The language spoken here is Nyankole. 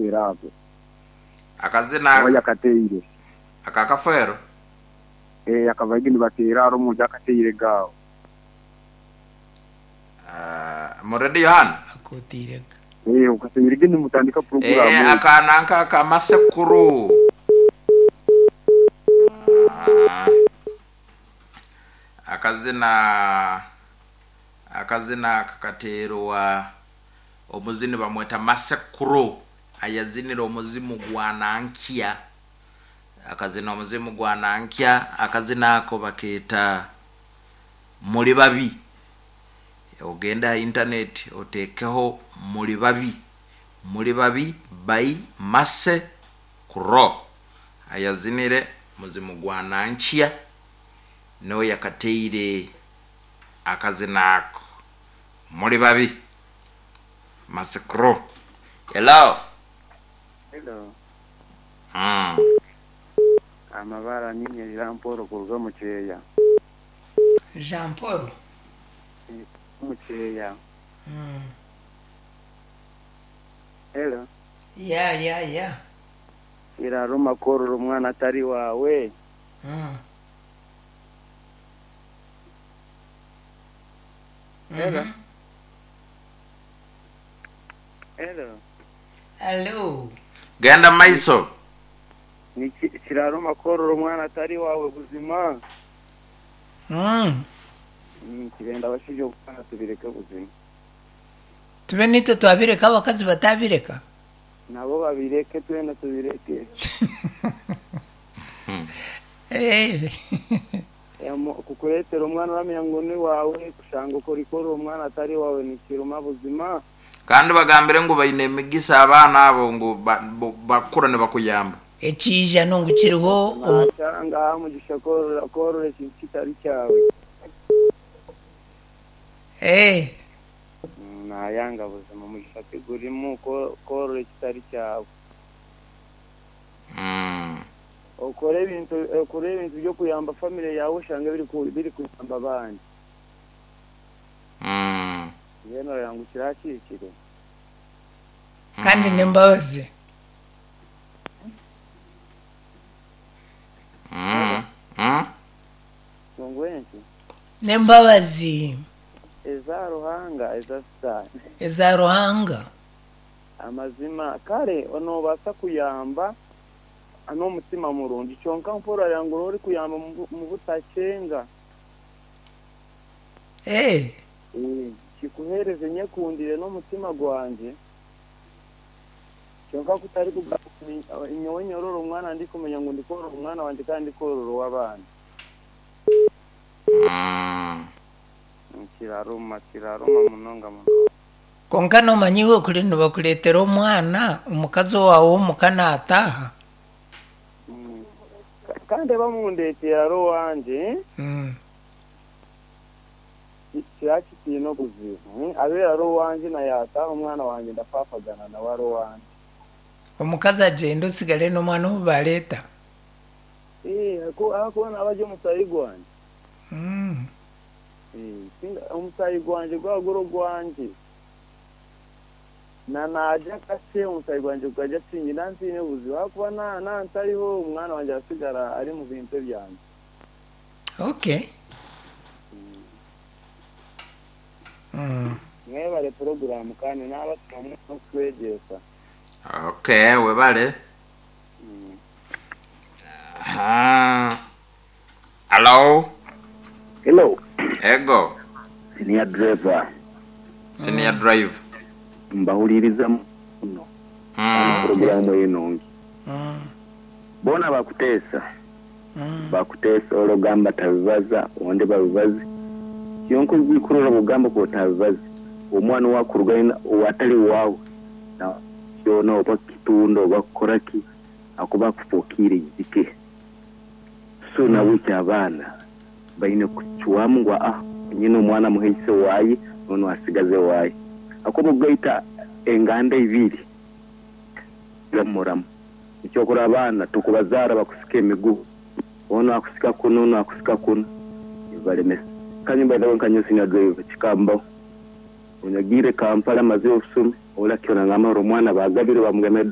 Kafeero ako. Akazina Oba yakateire. Aka Kafeero? Eeh akabaigi nibateera hare omuntu akateire ge aho. Mu Radio hanu? Akoteire ge. Eeh okateire ge nimutandika puroguraamu Eeh egyo. aka nanka aka Masekuru. Akazina akazina aka kateerwa omuzini bamweta Masekuru ayazinire omuzimu gwa Nankya. Akazina omuzimu gwa Nankya, akazina ako bakeeta Muri Babi. Ogende aha intaneti oteekeho Muri Babi, Muri Babi by Mercy Crow ayazinire muzimu gwa Nankya niwe yakateire akazina ako Muri Babi Mercy Crow. Hello. Hello. Mm. Amabara ninye Jean Paul kuruga omu Kyeya. Jean Paul. Omu Kyeya. Hello. Ya ya ya. Kiraruma kworora omwana atari waawe. Hello. Hello. Hello. Genda mu maiso. Kiraruma kworora omwana atari waawe buzima. Nikirenda abashaija obwana tubireke buzima. Tube naitwe twabireka abakazi batabireka? Nabo babireke twena tubireke. Kukureetera omwana oramanya ngu ni waawe kushanga orikworora omwana atari waawe nikiruma buzima. Kandi bagambire ngu baine emigisa abaana abo ngu bakura nibakuyamba. Ekiijano ngu kiriho omu. Nashanga aha mugisha kworora ekintu kitari kyawe. Nayanga buzima omugisha tigurimu kworora ekitari kyawe. Okore ebintu okore ebintu by'okuyamba famire yaawe oshange birikuyamba abandi. Mbwenu oreba ngu kiriya kihikire? Kandi n'embabazi. Ngu enki? N'embabazi. Eza Ruhanga eza Sitaane. Eza Ruhanga. Amazima, kare noobaasa kuyamba n'omutima murungi, kyonka mpora orareba ngu orikuyamba omu butakyenga. Kikuheereze nyekundire n'omutima gwangye, kyonka kutari kugamba ngu nyowe nyorora omwana ndikumanya ngu ndikworora omwana wangye kandi ndikworora ow'abandi. Kiraruma, kiraruma munonga munonga. Kwonka noomanya iwe kuri nibakureetera omwana, omukazi owaawe ow'omuka naataaha. Kandi bamundeetera ari owangye, kiriba kitaine obuzibu. Abeire ari owangye na yaataaha omwana wangye ndafaafagana nawe ari owangye. Omukazi agyende otsigare n'omwana ou baareeta. Ahakuba naaba ari omusaayi gwangye. Omusaayi gwangye gwaba guri ogwangye, na naarya kakye omusaayi gwangye gukarya kingi naaba ntaine buzibu ahakuba naaba ntariho omwana wangye aratsigara ari omu bintu ebyangye. Okay. Mwebare puroguraamu kandi naabasiima munonga okutwegyesa. Okay, webale. Aha. Hallo. Hello. Ego. Senior driver. Senior driver. Mbahuliriza muno kandi puroguramu eyo nungi. Boona bakuteesa, bakuteesa ole ogamba tabibaza onde babibaze. Kyonka oigwikurora bwogamba ku otabibaze, omwana owakurugayo owatali waawe kyona oba kukitunda oba kukora ki akuba akufokiire eizike. So nahabwekyo abaana baine kucwamu ngu aa nyine omwana muhe ise waaye n'onu asigaze waaye. Ahakuba okugaita enganda ibiri muramu. Ekyokurora abaana tukubazaara bakusika emigugu, onu akusika kunu onu akusika kunu nibibaremesa. Kanywe by the way nka nyowe senior driver kikambaho. Obu nagiire Kampala mazire obusomi, ole akyo nangamba ngu omwana baagabire bamugema.